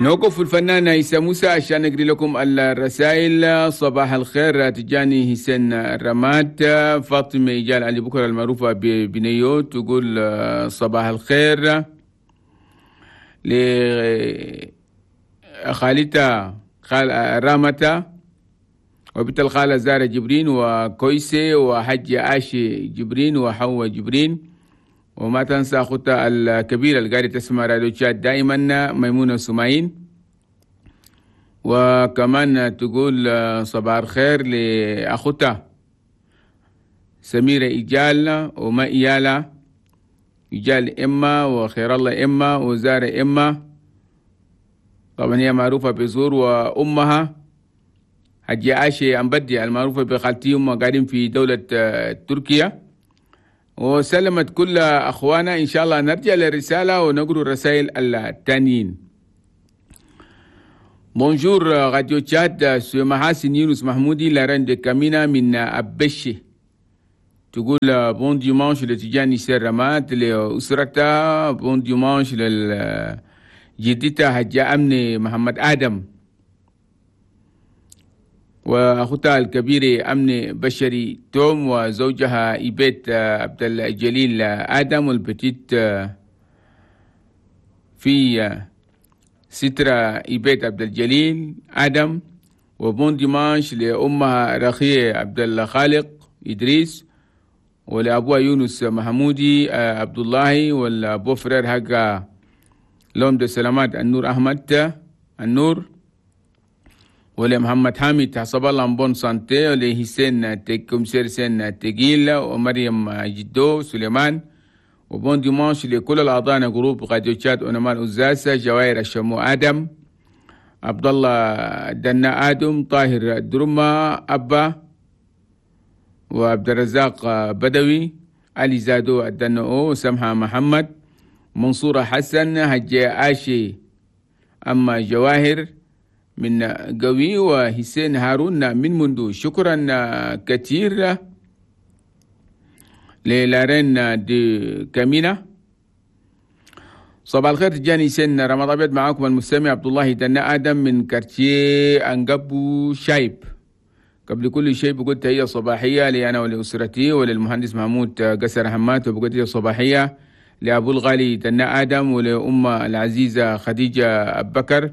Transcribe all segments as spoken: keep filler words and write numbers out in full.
نوقف الفنان عيسى موسى عشان نقري لكم الرسائل. صباح الخير تجاني حسين الرماد. فاطمة إيجال علي بكرة المعروفة ببنيو تقول صباح الخير لخالتها خال رامتا وبنت الخالة زارة جبرين وكويسي وحج عاشي جبرين وحوا جبرين، وما تنسى أختها الكبيرة اللي قاعدة تسمع راديو تشاد دائما ميمونة سماعين. وكمان تقول صباح الخير لأختها سميرة إيجال وما إيالة إيجال إما وخير الله إما وزارة إما، طبعا هي معروفة بزور، وأمها حجي عاشي أمبدي المعروفة بخالتي أمها قاعدين في دولة تركيا. وسلمت كل أخوانا. إن شاء الله نرجع للرسالة ونقرأ الرسائل التانيين. Bonjour Radio Tchad, c'est Mahassine Yunus Mahmoudi, la reine de Kamina من أبشي. تقول bon dimanche لتجاني سرمات لأسرتها، bon dimanche لجدتها حجة أمني محمد آدم وأختها الكبيرة أمني بشري توم وزوجها إيبيت عبد الجليل آدم وال petite fille سترة إيبيت عبد الجليل آدم. و bon dimanche لأمها رخية عبد الخالق إدريس ولأبوها يونس محمودي عبد الله وال beau-frère حق l'homme de سلامات النور أحمد النور، ولمحمد حامد حسب الله en bonne santé، ولحسين commissaire حسين تقيل ومريم جدو سليمان. و bon dimanche لكل الأعضاء groupe راديو تشاد ونمال أزاسة جواهر الشمو آدم عبد الله دنا آدم طاهر درما أبا وعبد الرزاق بدوي علي زادو الدنو سمحة محمد منصورة حسن هجي آشي أما جواهر من قوي وحسين هارون من مندو. شكرا كثير ل la reine de كامينا. صباح الخير تجاني سن رمضان أبيض، معاكم المستمع عبد الله دنا آدم من quartier أنقبو شايب. قبل كل شيء بقول تحية صباحية لي أنا ولأسرتي وللمهندس محمود قسر حمات، وبقول تحية صباحية لأبو الغالي دنا آدم ولأم العزيزة خديجة أبكر،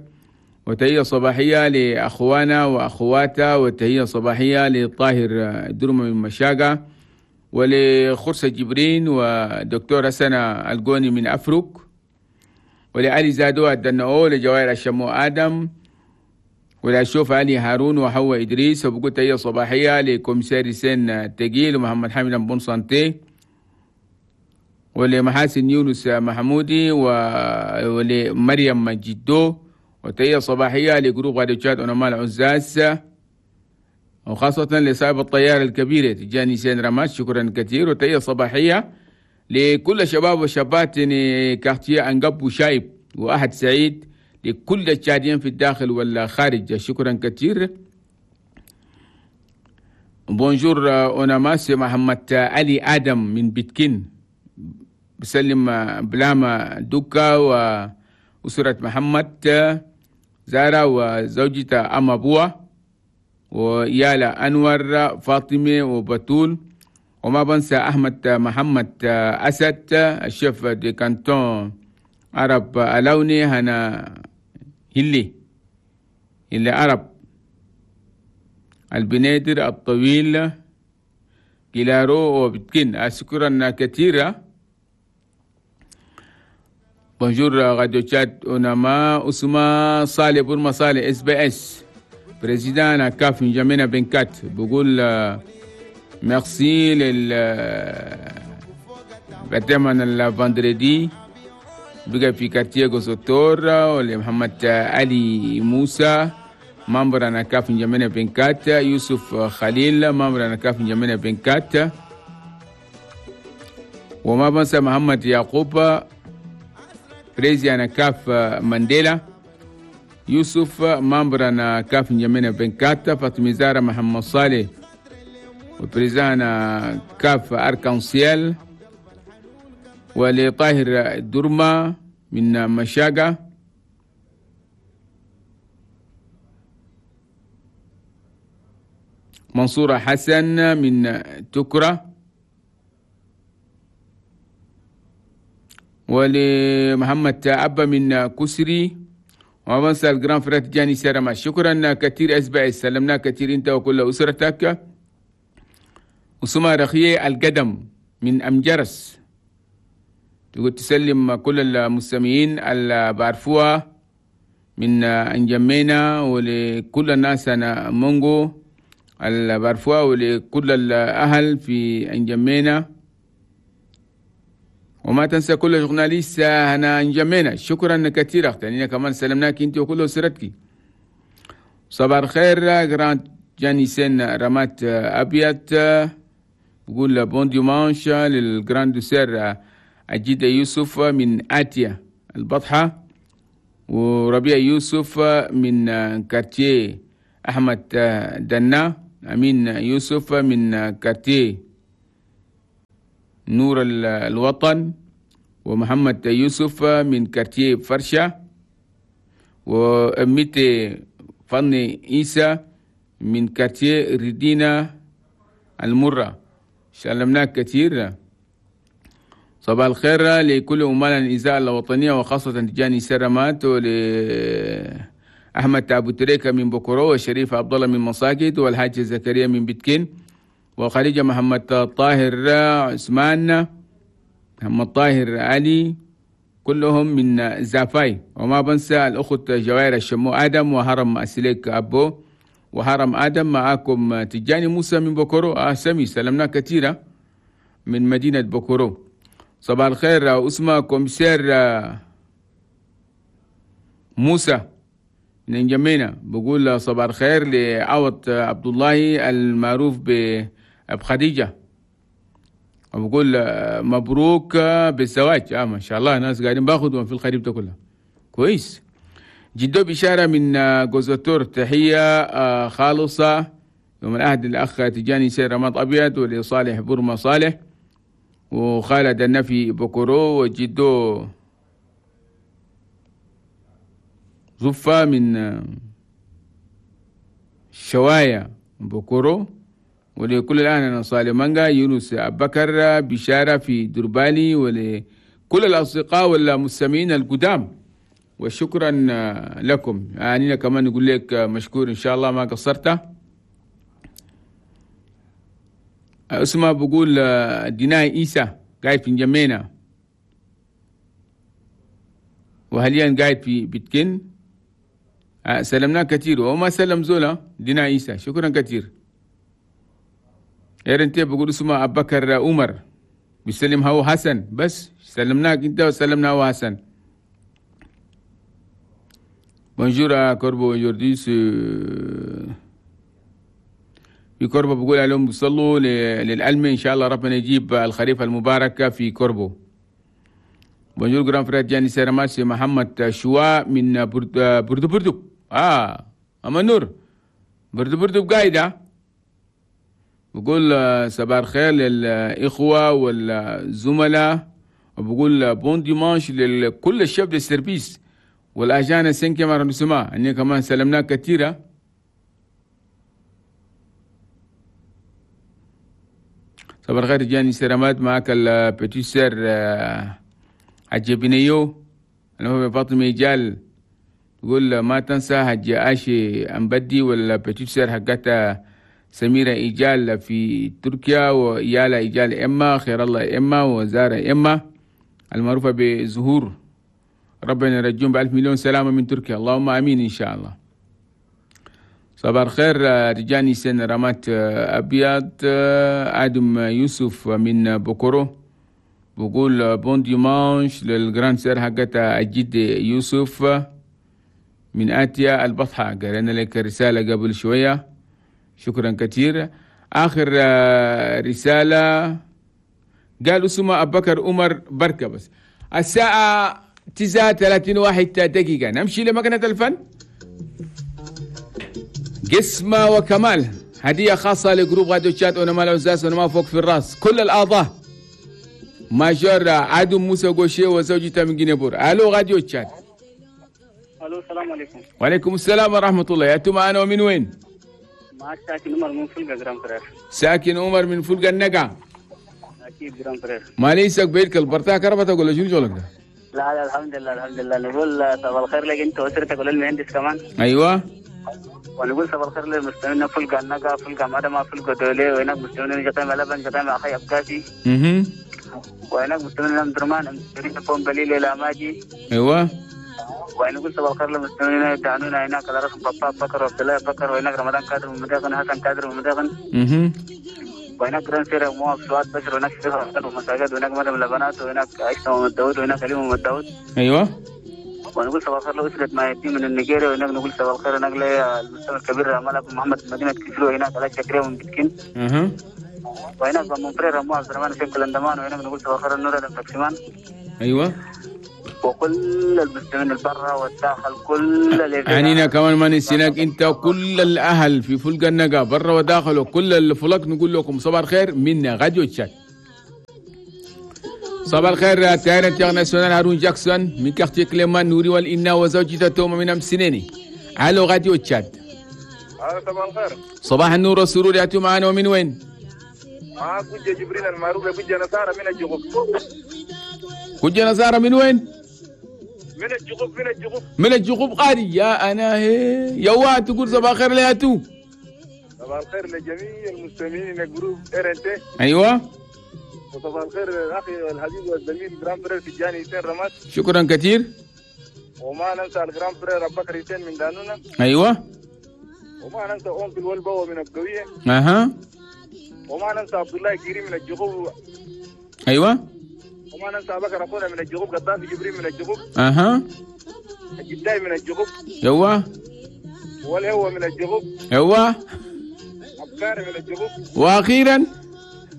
وتحية صباحية لأخوانا وأخواتا، وتحية صباحية لطاهر درمة من مشاقة، ولخرسة جبرين ودكتور حسن القوني من أفرك، ولعلي زادو الدنؤو، لجوائر الشمو آدم، ولأشوف علي هارون وحواء إدريس. وبقول تحية صباحية ل commissaire سين تقيل ومحمد حامد bonne santé، ولمحاسن يونس محمودي ولمريم جدو، وتحية صباحية ل groupe راديو تشاد ونمال عزاز، وخاصة لصاحب الطيارة الكبيرة تجاني سين رماش، شكرا كثير. وتحية صباحية لكل شباب وشابات quartier أنقب وشايب وأحد سعيد، لكل التشاديين في الداخل والخارج، شكرا كثير. Bonjour أوناماس محمد علي آدم من بيتكين، بسلم بلاما دوكا وأسرة محمد زارا وزوجته أم أبوه ويالا أنور فاطمة وبتول، وما بنسى أحمد محمد أسد ال chef de canton عرب ألوني هنا هلي هلي عرب البنادر الطويل كيلارو وبتكين، أشكرا كثيرا. Bonjour راديو تشاد أوناما أسمى صالح برما صالح SBS président CAF نجمينا vingt-quatre، بقول ميرسي لل بتمنى ال vendredi بقى في quartier غوسوتور، ولمحمد علي موسى membre أنا CAF نجمينا vingt-quatre، يوسف خليل membre أنا CAF نجمينا vingt-quatre، وما بنسى محمد يعقوب président CAF مانديلا، يوسف membre أنا CAF نجمينا vingt-quatre، فاطمة زارة محمد صالح و président CAF Arc-en-Ciel، ولطاهر درما من مشاقة، منصورة حسن من تكرة، ولمحمد أبا من كسري، وما بنسى ال grand frère جاني سرما. شكرا كثير أسبع، سلمنا كثير أنت وكل أسرتك. أسمى رخية القدم من أمجرس، تقول تسلم كل المستمعين اللي بعرفوها من أنجمينا، ولكل الناس أنا مونغو اللي بعرفوها، ولكل الأهل في أنجمينا، وما تنسى كل journaliste هنا انجمينا. شكرا كثير اختي، كمان سلمناك انت وكل اسرتك. صباح الخير grand جانيسين رمات ابيض، بقول bon dimanche لل grande sœur أجيدة يوسف من آتيا البطحة، وربيع يوسف من quartier أحمد دنا، أمين يوسف من quartier نور الوطن، ومحمد يوسف من quartier فرشة، وأميتي فني إيسى من quartier ردينا المرة. سلمناك كثير. صباح الخير لكل أمال الإذاعة الوطنية، وخاصة تجاني سرمات، ولأحمد أبو تريكة من بكرو، وشريف عبد الله من مساجد، والحاج زكريا من بتكين، وخديجة محمد طاهر عثمان، محمد طاهر علي، كلهم من زافاي. وما بنسى الأخت جوائر الشمو آدم، وهرم أسليك أبو، وهرم آدم. معاكم تجاني موسى من بكرو. آه سمي سلمنا كثيرة من مدينة بكرو. صباح الخير أسمى commissaire موسى من جمينة، بقول صباح الخير لعوض عبد الله المعروف بأب خديجة، وبقول مبروك بالزواج. آه ما شاء الله ناس قاعدين باخدهم في الخريف ده كله كويس. جدو بشارة من جوزوتور، تحية خالصة يوم العهد الأخ تجاني سير رماد أبيض، ولصالح برما صالح، وخالد النفي بكرو، وجدو زفة من شوايا بكرو، ولكل الآن صالح مانجا، يونس أبكر بشارة في دربالي، ولكل الأصدقاء والمستمعين القدام، وشكرا لكم. يعني كمان نقول لك مشكور إن شاء الله ما قصرت. اسمه بقول ديناي إيسا قاعد في جمينة، وحاليا قاعد في بيتكن. سلمنا كثير وما سلم زولا دينا إيسا، شكرا كثير. إيرنتي بقول اسمه أبو بكر عمر بيسلم هو حسن، بس سلمناك انت وسلمنا هو حسن. Bonjour à Corbo, aujourd'hui c'est في كوربو، بقول عليهم بيصلوا للألمة إن شاء الله ربنا يجيب الخريف المبارك في كوربو. Bonjour grand frère جاني سيرماسي محمد شوا من برد بردو بردو. آه أما نور بردو بردو بقايدة. بقول صباح الخير للإخوة والزملاء، وبقول bon dimanche لكل ال chefs de service وال agents cinquième arrondissement. أني كمان سلمنا كثيرة. صباح الخير جاني سلامات، معك ال petite sœur حجة بنيو أنا هو فاطمة جال، تقول ما تنسى حجة آشي أمبدي وال petite sœur حقتها سميرة إيجال في تركيا، وإيالا إيجال إما خير الله إما وزارة إما المعروفة بزهور. ربنا يرجون بألف مليون سلامة من تركيا، اللهم آمين إن شاء الله. صباح الخير رجاني سن رمات أبيض، آدم يوسف من بوكورو بقول bon dimanche لل grande sœur حقتها الجد يوسف من آتيا البطحة. قرينا لك رسالة قبل شوية، شكرا كثير. آخر رسالة قال اسمه أبو بكر عمر بركة. بس الساعة تسعة ثلاثين واحد دقيقة نمشي لمكنة الفن. قسمة وكمال هدية خاصة ل groupe راديو تشاد ونما العزاز ونما فوق في الراس كل الأعضاء major عادم موسى غوشي وزوجته من جنيبور. ألو راديو تشاد. ألو السلام عليكم. وعليكم السلام ورحمة الله. يا معنا ومن وين؟ معك ساكن عمر من فلقة grand frère. ساكن عمر من فلقة النقع. اكيد grand frère. ما ليسك بيتك البرتاح كربتك ولا شنو شغلك ده؟ لا لا الحمد لله الحمد لله. نقول صباح الخير لك انت واسرتك وللمهندس كمان. ايوه. ونقول صباح الخير للمستمعين فلقة النقع، فلقة مدمة، فلقة دولي، وهناك مستمعين جطيم لبن، جطيم اخي ابكاسي. اها. وهناك مستمعين ام درمان، مستمعين فون بليل الى ماجي. ايوه. ونقول صباح الخير للمستمعين يدعنونا هناك على رقم بطاب بكر وعبد الله بكر، وهناك رمضان كادر من مداغن، حسن كادر من مداغن. اها. وهناك grand frère مواب سواد بشر، وهناك شيخ ومساجد، وهناك مريم لبنات، وهناك عائشة محمد داود، وهناك علي محمد داود. ايوه. ونقول صباح الخير لأسرة ما يتيم من النيجيريا، وهناك نقول صباح الخير هناك للمستمع الكبير ملك محمد من مدينة كفلو، وهناك على شكري من بتكين. اها. وهناك mon frère مو عبد الرحمن في كلندمان، وهناك نقول صباح الخير النور تاكسيمان. ايوه. وكل المستمعين البرة والداخل، كل اللي عنينا كمان ما نسيناك انت وكل الاهل في فلق النقا برا وداخل وكل الفلق، نقول لكم صباح الخير من راديو تشاد. صباح الخير تاير international هارون جاكسون من quartier كليمان نوري والإنا وزوجته توما من أمسنيني. الو راديو تشاد. صباح الخير. صباح النور والسرور. يا معانا ومن وين؟ معاك كوجة جبريل المعروف كوجة نصارى من الجغوب. كوجة نصارى من وين؟ من الجغوب من الجغوب من الجغوب قاري يا انا هي يا واد تقول صباح الخير ليا تو. صباح الخير لجميع المستمعين groupe RNT. ايوه. وصباح الخير الاخي الحبيب والزميل grand frère تجاني حسين رماد. شكرا كثير. وما ننسى ال grand frère ابو بكر حسين من دانونا. ايوه. وما ننسى oncle والبوا من القوية. اها. وما ننسى عبد الله كريم من الجغوب. ايوه. وما ننسى بكر اخونا من الجغوب، قطافي جبريل من الجغوب. اها. الجداي من الجغوب. ايوه. والهو من الجغوب. ايوه. عبكاري من الجغوب. واخيرا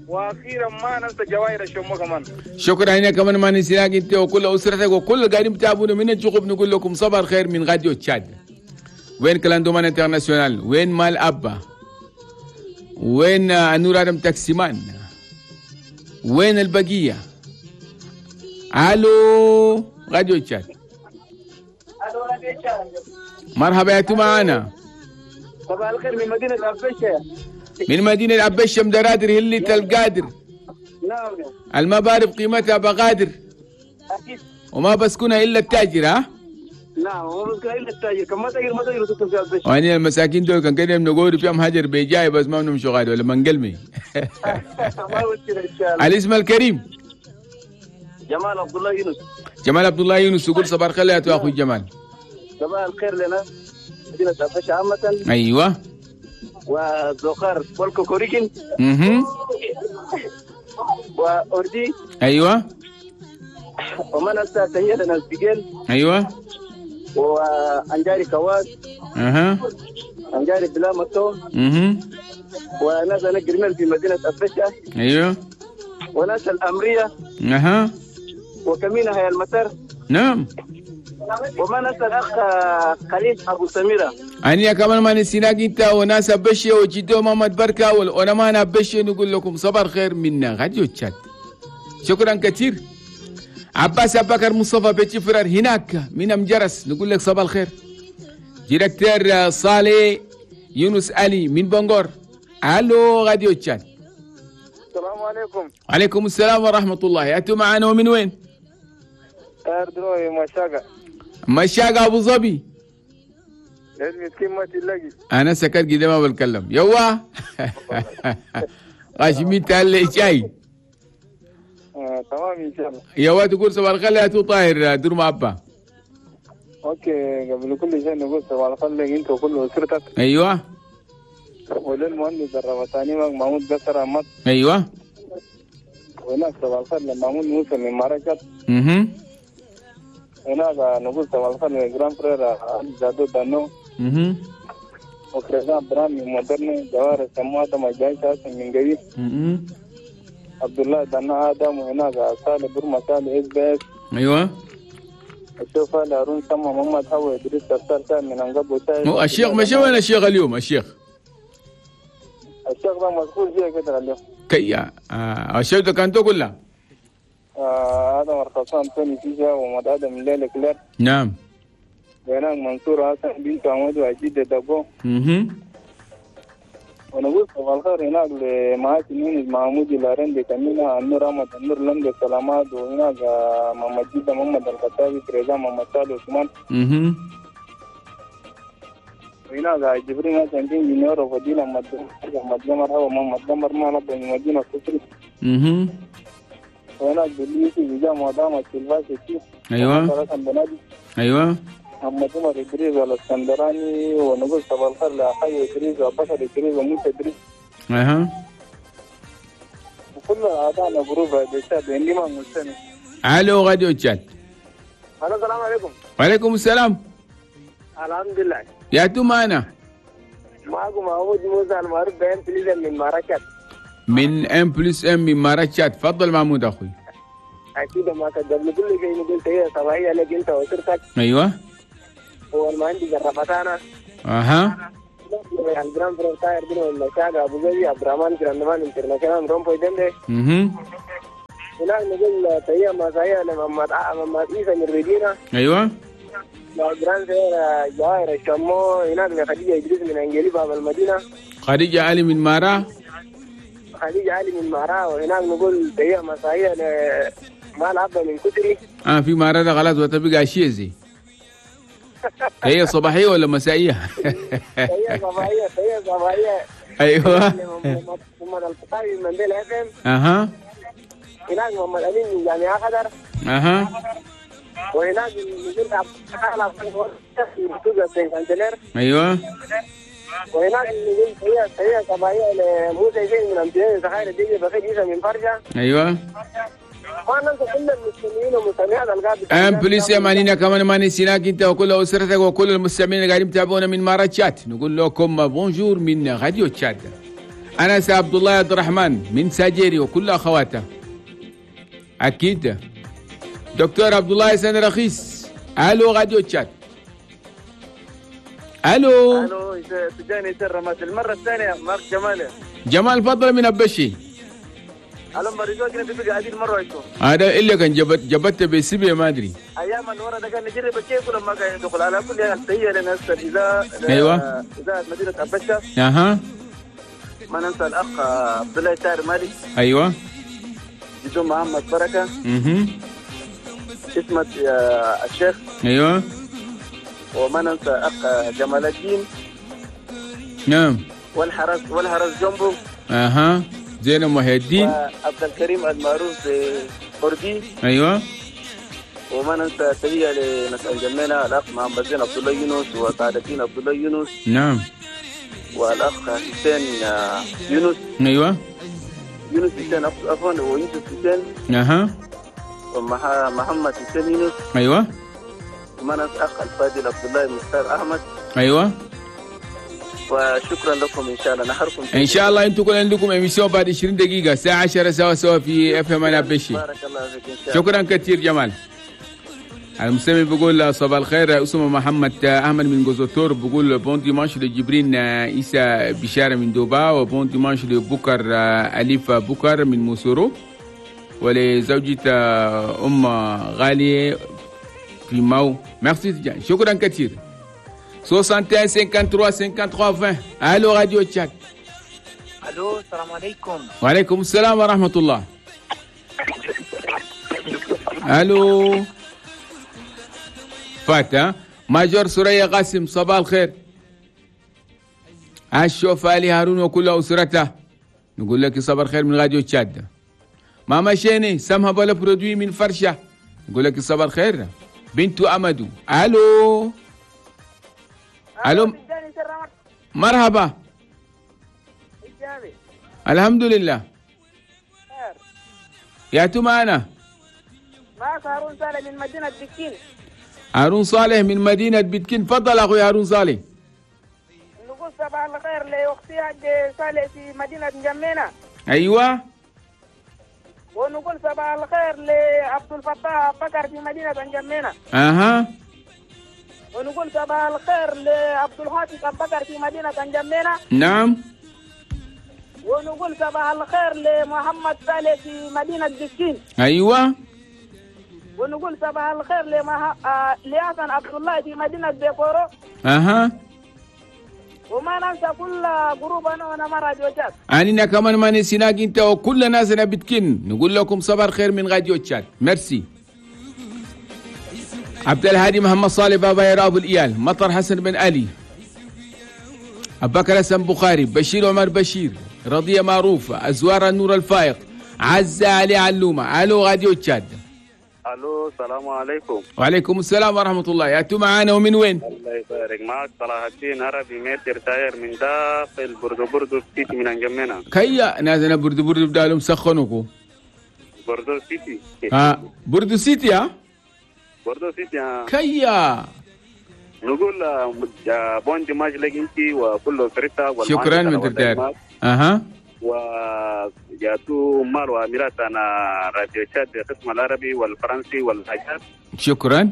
واخيرا ما ننسى جواهر الشمو كمان. شكرا هنا كمان ما ننساك انت وكل اسرتك وكل قاعدين بتابعونا من الجغوب. نقول لكم صباح الخير من راديو تشاد. وين كلاندومان international؟ وين مال ابا؟ وين نور ادم تاكسيمان؟ وين البقية؟ الو راديو تشاد. مرحبا يا معانا. صباح الخير من مدينة أبشة. من مدينة أبشة مدرادر هلة القادر. نعم. المبارب قيمتها بغادر. أكيد. وما بسكنها إلا التاجر. ها؟ نعم وما بسكنها إلا التاجر، كم ما تاجر ما تاجر تسكن في أبشة. وأنا المساكين دول كان كده بنقول فيهم هجر بيجاي بس ما بنمشوا غادي ولا منقلمي. ما مشكلة إن شاء الله. الاسم الكريم. جمال عبد الله يونس. جمال عبد الله يونس يقول صباح الخير يا اخوي جمال. صباح الخير لنا مدينة أبشة عامة. ايوه. وزوخار والكوكوريكين. اها. وأوردي. ايوه. وما ننسى تحية لنا البيجل. ايوه. وأنجاري كواس. اها. أنجاري بلا متو. اها. وناس أنا جرمال في مدينة أبشة. ايوه. وناس الأمرية. اها. وكمينة هي المطر. نعم. وما ننسى الأخ خليل أبو سميرة. أنا كمان ما نسيناك أنت وناس أبشة وجدو محمد بركة وأنا ما أنا أبشة. نقول لكم صباح الخير منا راديو تشاد. شكرا كثير. عباس أبكر مصطفى بيتي فرار هناك من مجرس نقول لك صباح الخير. directeur صالح يونس علي من بنغور. الو راديو تشاد. السلام عليكم. وعليكم السلام ورحمة الله. أنتم معنا ومن وين؟ دروي مشاقة. مشاقة أبو ظبي. ما تلاقي. أنا سكت كده ما بتكلم. يوا غاشمين تالي شاي. آه، تمام إن شاء الله. يوا تقول صباح الخير يا تو طاهر دور ما أبا. okay، قبل كل شيء نقول صباح الخير لك أنت وكل أسرتك. أيوه. وللمهندس الرمضاني محمود قصر أحمد. أيوه. وهناك صباح الخير لمحمود موسى من مراكز. اها. هناك نقول صباح الخير ل grand frère زادو دانو. اها. وكريزان برام من مودرن جوار سموات مجاي حسن من قريب. اها. عبد الله دانا ادم. وهناك صالح برما صالح اس بي اس. ايوه. الشيخ هارون سما محمد هو ادريس سرسار من انقب. الشيخ مشى وين الشيخ اليوم؟ الشيخ الشيخ ده مشغول فيها كده اليوم. كيا آه الشيخ ده كان تقول له آه هذا مرخصان توني فيجا ومد ادم الليل كلير. نعم. وهناك منصور حسن بنت عمود وعجيد دبو. اها. ونقول صباح الخير هناك لمعاك نونز محمود لارندي كمينة النور أحمد النور لمدة سلامات وهناك محمد جدة محمد الخطابي بريزان محمد سالي عثمان. اها. وهناك جبريل حسن دين جنيور وفضيلة محمد محمد قمر هو محمد قمر ما نبى من مدينة كفري. اها. وهناك بليسي بجامعة دامة سيلفاسي. ايوه. ايوه. محمد عمر إدريس والاسكندراني ونقول صباح الخير لأخي إدريس وبشر إدريس وموسى إدريس. اها. وكل أعضائنا group راديو عندي ما مستمع. الو راديو تشاد. الو السلام عليكم. وعليكم السلام. الحمد لله. يا تو معنا. معكم محمود موسى المعروف ب M plus M من مراكش. من M plus M من مراكش، تفضل محمود اخوي. اكيد ما قبل كل شيء نقول تحية صباحية لك انت واسرتك. ايوه. هو المهندس الرفتانة. اها. ال grand frère تاير بن المشاقة ابو زيد عبد الرحمن جراندمان international رومبوي دندي. اها. هناك نقول تحية مسائية لمحمد محمد عيسى من ريدينا. ايوه. grand frère جواهر الشمو هناك لخديجة إدريس من انجلي باب المدينة. خديجة علي من مارا. خديجة علي من مارا. وهناك نقول تحية مسائية لمال عبد من كتري. اه في مارا ده خلاص وتبقى شيزي. هي صباحية ولا مسائية؟ هي صباحية هي صباحية. ايوه. محمد الفقاوي من منديل اف ام. اها. هناك محمد امين من جامعة خضر. اها. وهناك نزل عبد ايوه. وهناك نزل هي هي صباحية لموسى زين من امتداد زخاير الدنيا بخير عيسى من فرجة. ايوه. M plus M علينا كمان ما نسيناك انت وكل اسرتك وكل المستمعين اللي قاعدين يتابعونا من مارا تشات. نقول لكم bonjour من راديو تشات. انا سي عبد الله عبد الرحمن من ساجيري وكل اخواته. اكيد دكتور عبد الله حسن رخيص. الو راديو تشات. الو. الو تجاني سر المرة الثانية مارك جمال. جمال فضل من ابشي. هذا إلا كان جبت جبت بسبية ما أدري. أيام الورا ده كان نجرب كيف لما كان يدخل على كل حال تحية لناس الإذاعة. أيوة. إذاعة مدينة أبشة. أها. ما ننسى الأخ عبد الله تار مالك. أيوة. جدو محمد بركة. أها. اسمه الشيخ. أيوة. وما ننسى أخ جمال الدين. نعم. والحرس والحرس جنبه. أها. زينب محي الدين. عبد الكريم المعروف بوردي. ايوه. وما ننسى تحية لناس الجميلة الاخ محمد زين عبد الله يونس وسعد الدين عبد الله يونس. نعم. والاخ حسين يونس. ايوه. يونس حسين عفوا ويوسف حسين. اها. ومحمد حسين يونس. ايوه. وما ننسى اخ الفاضل عبد الله مختار احمد. ايوه. وشكرا لكم ان شاء الله نحركم ان شاء الله. انتم كل عندكم émission بعد عشرين دقيقة الساعة عشرة سوا سوا في FM ابشي. بارك الله فيك ان شاء الله. شكرا كثير جمال. المستمع بيقول صباح الخير اسمه محمد احمد من جوزوتور بيقول bon dimanche لجبرين عيسى بشارة من دوبا و bon dimanche لبكر اليف بكر من موسورو ولزوجة ام غالية في ماو. ميرسي شكرا كثير. soixante et un cinquante-trois cinquante-trois vingt. الو راديو تشاد. الو السلام عليكم. وعليكم السلام ورحمة الله. الو فات ماجور سوريا قاسم صباح الخير. الشوف علي هارون وكل اسرته نقول لك صباح الخير من راديو تشاد. ماما شيني سمها بلا produit من فرشه نقول لك صباح الخير. بنت امدو. الو الو مرحبا. الحمد لله. يا تو معنا؟ معك هارون صالح من مدينة بكين. هارون صالح من مدينة بكين، تفضل أخوي هارون صالح. نقول صباح الخير لأختي حاج صالح في مدينة جمينة. أيوة. ونقول صباح الخير لعبد الفتاح بكر في مدينة جمينة. أها. ونقول صباح الخير لعبد الحافظ بكر في مدينة جمينة. نعم. ونقول صباح الخير لمحمد صالح في مدينة بكين. أيوة. ونقول صباح الخير لمه... آه... لحسن عبد الله في مدينة بيكورو. أها. وما ننسى كل group انا وانا ما راديو تشاد. أننا كمان ما نسيناك انت وكل ناسنا بتكن نقول لكم صباح الخير من راديو تشاد. ميرسي. عبد الهادي محمد صالح بابا يا ابو الايال، مطر حسن بن علي، ابو بكر حسن بخاري، بشير عمر بشير، رضية معروف، أزوار النور الفائق، عزة علي علومة. الو راديو تشاد. الو السلام عليكم. وعليكم السلام ورحمة الله. يا تو معانا ومن وين؟ الله يبارك معك صلاح الدين عربي maître tailleur من داخل بردو بردو city من انجمنا. كيا نازنا بردو بردو بدالهم سخنوكو. بردو city. ها بردو city ها؟ بردو city ها. كيا نقول bon dimanche لك انت وكل اسرتك. شكرا maître tailleur. اها وجاتو مال واميرات انا راديو تشاد قسم العربي والفرنسي والحاجات. شكرا.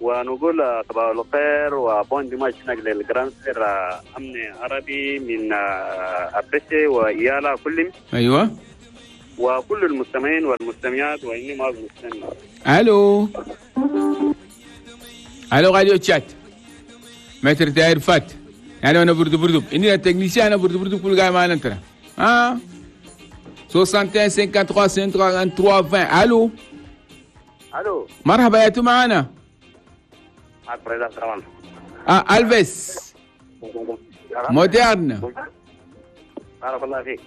ونقول صباح الخير و bon dimanche هناك لل grand frère امن عربي من ابسي وإيالا كلهم. ايوه وكل المستمعين والمستمعات واني معك مستمع. الو الو راديو تشاد. maître tailleur فات يعني انا بردو بردو اني ال technicien انا بردو بردو كل قاعد معنا انت ها واحد وستين ثلاثة وخمسين ثلاثة وعشرين. الو الو مرحبا يا تو معانا. معك président طبعا. اه الفيس moderne. بارك الله فيك.